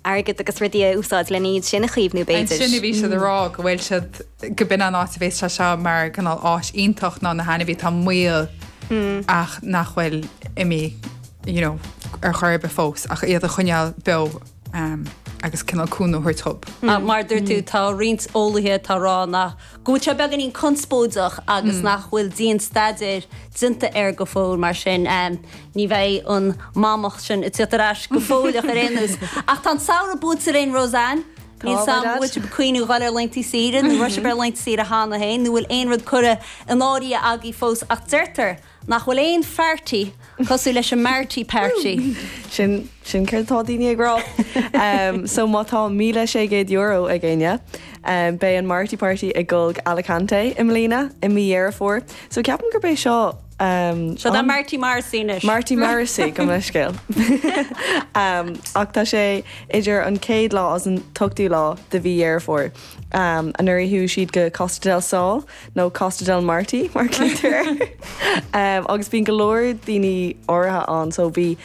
airgead agus rudaí a úsáid lena iad sin a chaomhnú b'fhéidir. Ansin a bhí siad ag rá go bhfuil siad, go b'in an áit a bhéas sé seo mar cineál áis iontach ná na hainmhithe atá i mbaol ach nach bhfuil imithe you know ar chor ar bith fós ach iad a choinneáil beo agus cineál cúnamh a thabhairt dhób. Mar a dúirt tú tá roinnt eolaithe atá ag rá nach go bhfuil sé beagáinín conspóideach agus nach bhfuil dian-staidéar déanta air go fóill, mar sin ní bheidh an mamach sin ag tíocht ar ais go fóilleach ar aon nós. Ach tá an samhradh buailte linn, Roseanne. Níl 's a'm an bhfuil sibh ag cuimhniú dhul ar laethanta saoire nó raibh sibh ar laethanta saoire cheana féin nó bhfuil aon rud curtha in áirithe agaibh fós ach deirtear nach bhfuil aon pharty cosúil leis an Marty Party. Sin, sin céard atá daoine ag rá. So má tá €1,600 ag éinne, beidh an Marty Party ag dul go Alicante i mbliana, i mí Dheireadh Fómhair. So ceapaim gurb é seo Seo do Marty Morrissey anois. Marty Morrissey, gabh mo leithscéal. Ach tá sé idir an chéad lá agus an t-ochtú lá de mhí Dheireadh Fómhair. Anuraidh chuaigh siad go Costa del Sol, nó Costa del Marty mar a ghlaoitear air. Agus bíonn go leor daoine áirithe ann, so bhí,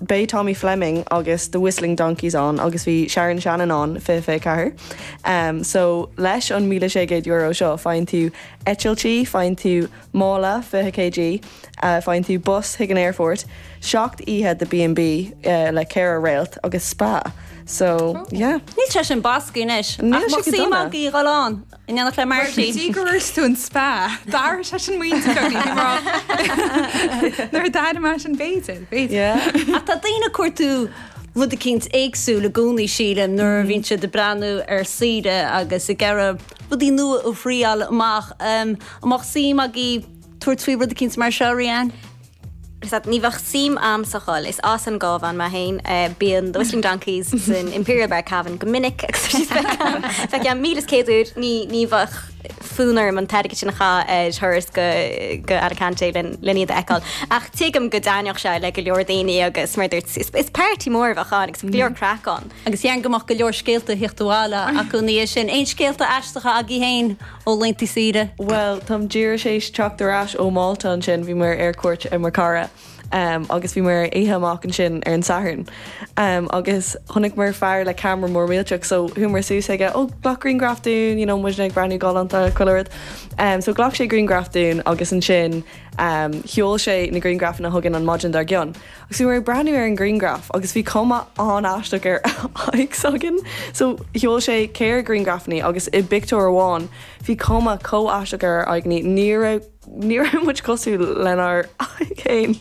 beidh Tommy Fleming agus The Whistling Donkeys ann agus bhí Sharon Shannon ann 2024. So leis an €1,600 seo faigheann tú eitiltí, faigheann tú mála 20 kg, faigheann tú bus chuig an aerfort, 7 oíche de B&B le ceithre réalt agus spa. So yeah. Níl sé sin bascaí anois. Níl Ach sé mbeadh go suim dona. agaibh dhul ann. In éineacht le Marty. Go dtí gur dhúirt tú an spa, d'athraigh sé sin m'intinn beagán, bhí mé ag rá nuair a d'airigh mé sin b'fhéidir, b'fhéidir. Yeah. Ach tá daoine ag cuartú rud eicínt éagsúil i gcónaí sílim nuair a bhíonn siad ag breathnú ar saoire agus ag iarraidh rudaí nua a thriáil amach. An mbeadh suim agaibh tabhairt faoi rud eicínt mar seo, Rianne? Ní bheadh suim a'msa dhul. Is as an gCabhán mé féin. Bíonn The Whistling Donkeys san Imperial Bar Cavan go minic agus tá siad feicthe a'm 1,100 uair. Ní ní bheadh fonn orm an t-airgead sin a chaitheamh ar thuras go go Alicante len len iad a fheiceáil. Ach tuigim go dtaitneodh sé le go leor daoine agus mar a dúirt is is party mór a bheadh ann agus go leor craic ann. Agus dhéarfainn go mbeadh go leor scéalta a thíocht abhaile acu ina dhiaidh sin. Aon scéalta aisteacha agaibh féin? Ó laethanta saoire. Bhuel, táim díreach théis teacht ar ais ó Mhálta ansin, bhí muid ar cuairt ar mo chara agus bhí muid ar oíche amach ansin ar an Satharn agus chonaic muid fear le ceamara mór millteach so chuamar suas chuige, oh glac grianghraf dúinn, you know muidne ag breathnú galánta, chuile rud. So ghlac sé grianghraf dúinn agus ansin sheol sé na grianghrafanna chugainn an maidin dár gcionn. Agus bhí muid ag breathnú ar an ghrianghraf agus bhí cuma an-aisteach ar aghaidh s'againn. So sheol sé ceithre ghrianghrafanna agus i bpictiúr amháin bhí cuma chomh aisteach ar ár aghaidheanna, ní raibh ní raibh muid cosúil lenár aghaidh féin.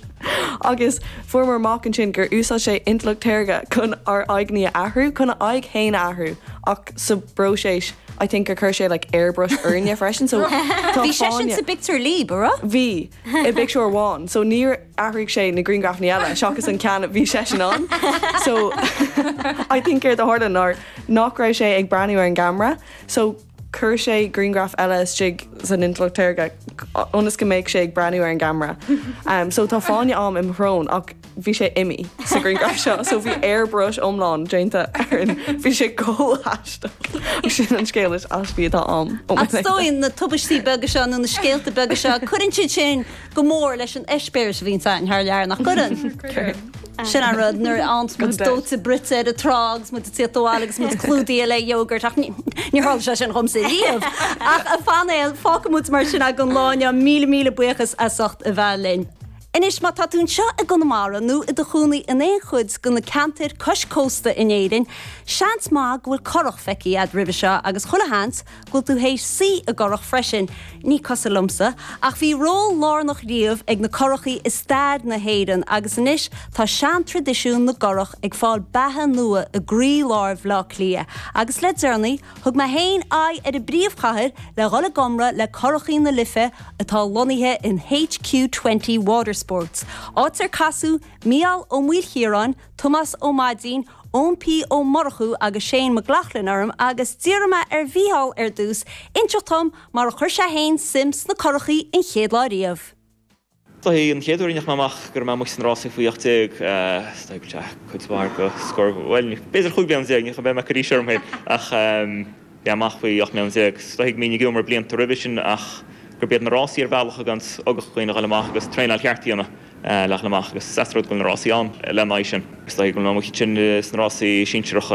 Agus fuaireamar amach ansin gur úsáid sé intleacht shaorga chun ár aghaidheanna a athrú, chun a aghaidh féin a athrú ach sa bpróiseas I think gur chuir sé like airbrush orainne freisin so tá Bhí seisean fáinne sa bpictiúr libh, an raibh? Bhí. I bpictiúr amháin. So níor athraigh sé na grianghrafanna eile seachas an ceann a bhí seisean ann. So I think céard a tharla ná nach raibh sé ag breathnú ar an gceamara so chuir sé grianghraf eile istigh san intleacht shaorga ionas go mbeadh sé ag breathnú ar an gceamara. Um, so tá fáinne a'm i mo shrón ach bhí sé imithe sa ghrianghraf seo so bhí airbrush iomlán déanta orainn. Bhí sé chomh haisteach. Sin an scéal is aistí atá a'm ó mo Ach is dóigh na tubaistí beaga seo nó na scéalta beaga seo, cuireann siad sin go mór leis an eispéireas a bhíonns againn thar lear, nach gcuireann? Cuireann. Sin an rud, nuair a fhaigheanns muid dóite bruite ar an trá agus muid ag tíocht abhaile agus muid clúdaithe le yogurt, ach níor tharla sé sin dhomsa riamh. Ach a phainéal, fágfaidh muid mar sin é don lá inniu. Míle míle buíochas as ucht a bheith linn. Anois, má tá tú anseo i gConamara nó i do chónaí in aon chuid de na ceantair cois cósta in Éirinn, seans maith go bhfuil curach feicthe a'd roimhe seo agus chuile sheans go bhfuil tú théis suí i gcurach freisin, ní cosúil liomsa, ach bhí ról lárnach riamh ag na curachaí i stair na hÉireann agus anois tá seantraidisiún na gcurach ag fáil beatha nua i gcroílár Bhaile Átha Cliath agus le deireanaí Thug mé féin aghaidh ar an bpríomhchathair le dhul i gcomhrá le Curachaí na Life atá lonnaithe in HQ 20 Watersports, áit ar casadh Mícheál Ó Maoilchiaráin, Tomás Ó Maidín, Eoin P Ó Murchú agus Shane McLaughlin orm agus d'iarr mé ar Mhícheál ar dtús inseacht dhom mar a chuir sé féin suim sna curachaí an chéad lá riamh. Is dóichí an chéad uair a ndeachaigh mé amach go raibh mé amuigh sna rásaí faoi 18, is dóichí go bhfuil sé cuid mhaith go scór, bhuel, b'fhéidir 15 bliana, ní bheidh mé ag cur aois orm féin, ach bhí mé amach faoi 18 mbliana. Is dóichí go mbínn ag iomramh blianta roimhe sin ach gurb iad na rásaí ar bhealach a fhágadh dhaoine a dhul amach agus traenáil cheart a dhéanamh le dhul amach agus is as rud go bhfuil na rásaí ann lena aghaidh sin. Is dóichí go bhfuil mé amuigh ansin sna rásaí sinsearacha.